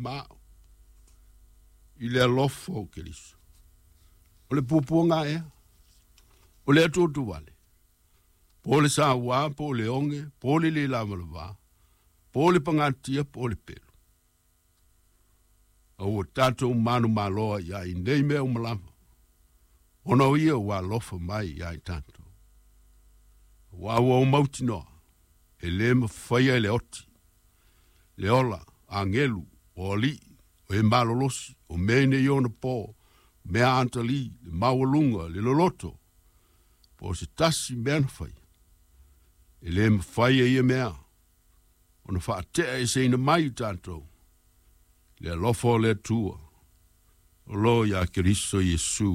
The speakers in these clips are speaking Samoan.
ma a'u i le alofa o Keriso. O le puapuaga ea, o le atuatuvale, po o le sauā, po o le oge, po o le lē lavalava, po o le pagatia, po o le pelu. A ua tatou manumalo ai i nei mea uma lava, ona o ia ua alofa mai iā i tatou. Aua ua ou mautinoa, e lē mafaia e le oti, le ola, agelu, o alii, o e malolosi, o mea i nei ona po, o mea atalī, le maualuga, le loloto, po o se tasi mea na faia, e lē mafai e ia mea ona faate'a eseina mai i tatou le alofa o le Atua o loo iā Keriso Iesu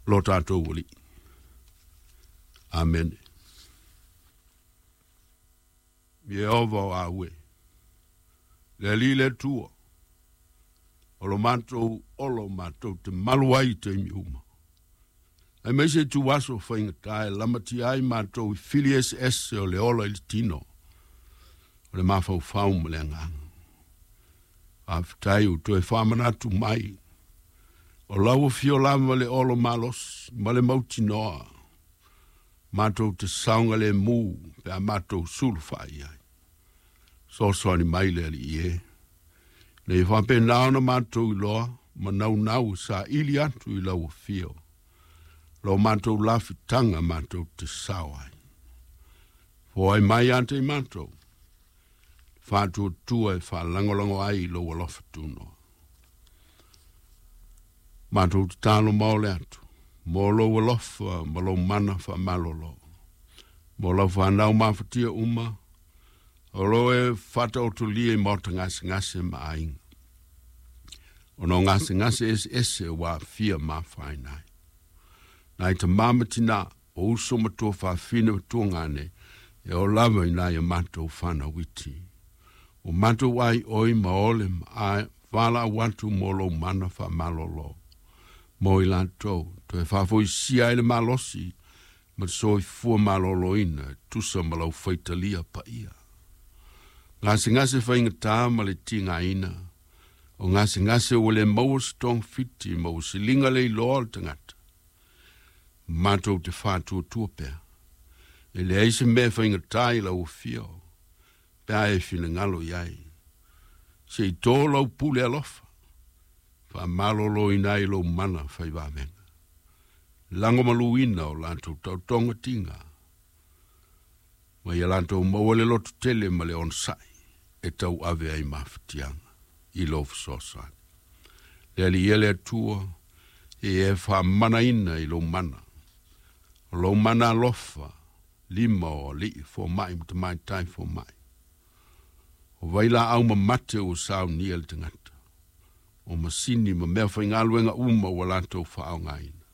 lo tatou Alii. Amene. Ieova o aue, le Alii le Atua, o lo matou olo matou te malu ai i taimi uma. Aemaise ituaso faigata e lamatia ai matou i fili eseese o le ola i le tino, o le mafaufau ma le agaga. Faafetai ua toe faamanatu mai, o lau afio lava le olo malosi ma le mautinoa, matou te saogalemu pe a matou sulufai i ai. Soasoani mai le Alii e, ina ia faapena ona matou iloa ma naunau e saili atu i lau afio lo matou lafitaga matou te sao ai. Foai mai ia te i matou le faatuatua e faalagolago ai i lou alofa tunoa. Matou tatalo maole atu mo lou alofa ma lou mana faamalolo mo lau fanau mafatia uma o lo e faataotolia i maota gasegase ma aiga, ona o gasegase eseese ua aafia ma afaina ai. Nai tamā ma tinā, o uso ma tuafafine ma tuagane, e oo lava i nai a matou fanau iti. Ua matou aioi ma ole ma a valaau atu mo lou mana faamalolo mo i latou, toe faafoisia ai le malosi ma le soifua maloloina e tusa ma lau faitalia paia. Gasegase faigata ma le tigaina, o gasegase ua le maua se togafiti ma ua siliga le iloa o le tagata, matou te faatuatua pea, e leai se mea e faigata i lau afio, pe a e finagalo i ai. Se i tō lau pule alofa, faamaloloina ai lou mana fai vavega. Lagomaluina o latou taotoga tiga, ma ia latou maua le lototele ma le onosai e tauave ai mafatiaga i lou fesoasoani. Le Alii e le Atua, e e faamanaina i lou mana, o lou mana alofa, lima o alii fomai ma tamaitai fomai. O vailaau mamate ua saunia le tagata, o masini ma mea faigaluega uma ua latou faaaogaina,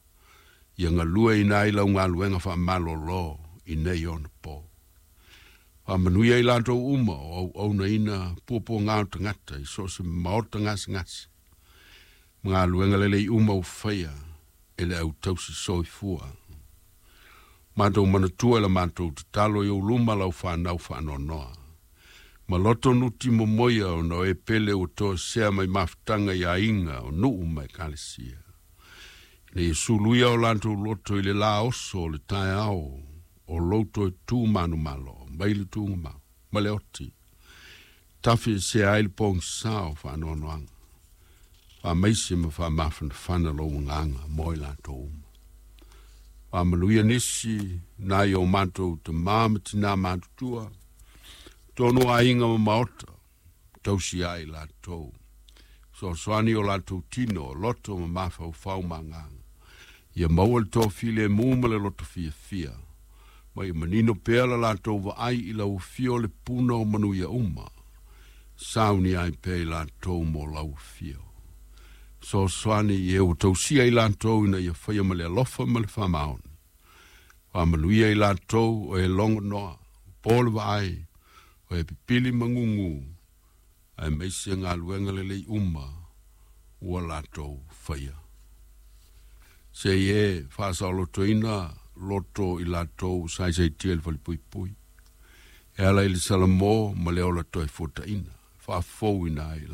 ia galueina ai lau galuega faamalolo i nei ona po. Faamanuia i latou uma o auaunaina puapuaga o tagata i so o se maota gasegase, ma galuega lelei uma ua faia e le au tausi soifua. Matou manatua i la matou tatalo i ou luma lau fanau faanoanoa, ma loto nuti momoia ona o e pele ua toesea mai mafutaga i aiga o nuu ma ekalesia, ina ia suluia o latou loto i le lā oso o le taeao o lou toe tu manumalo mai le tugamau ma le oti, tafiesea ai le pogisā o faanoanoaga. Faamaise ma faamafanafana lou agaga mo i latou uma. Faamanuia nisi nai o matou tamā ma tinā matutua, tonu aiga ma maota, tausia ai latou. Soasoani o latou tino, loto ma mafaufau ma agaga. Ia maua le toafilemu ma le loto fiafia, ma ia manino pea la latou vaai i lau afio le puna o manuia uma, saunia ai pea i latou mo lau afio. Soasoani i e ua tausia i latou ina ia faia ma le alofa ma le faamaoni. Faamanuia i latou o e logonoa, po le vaai, o e pipili magugu, aemaise galuega lelei uma ua latou faia. Se i e faasaolotoina loto i latou saisaitia i le falepuipui, e ala i le salamo ma le ola toe fuataina, faafouina ai.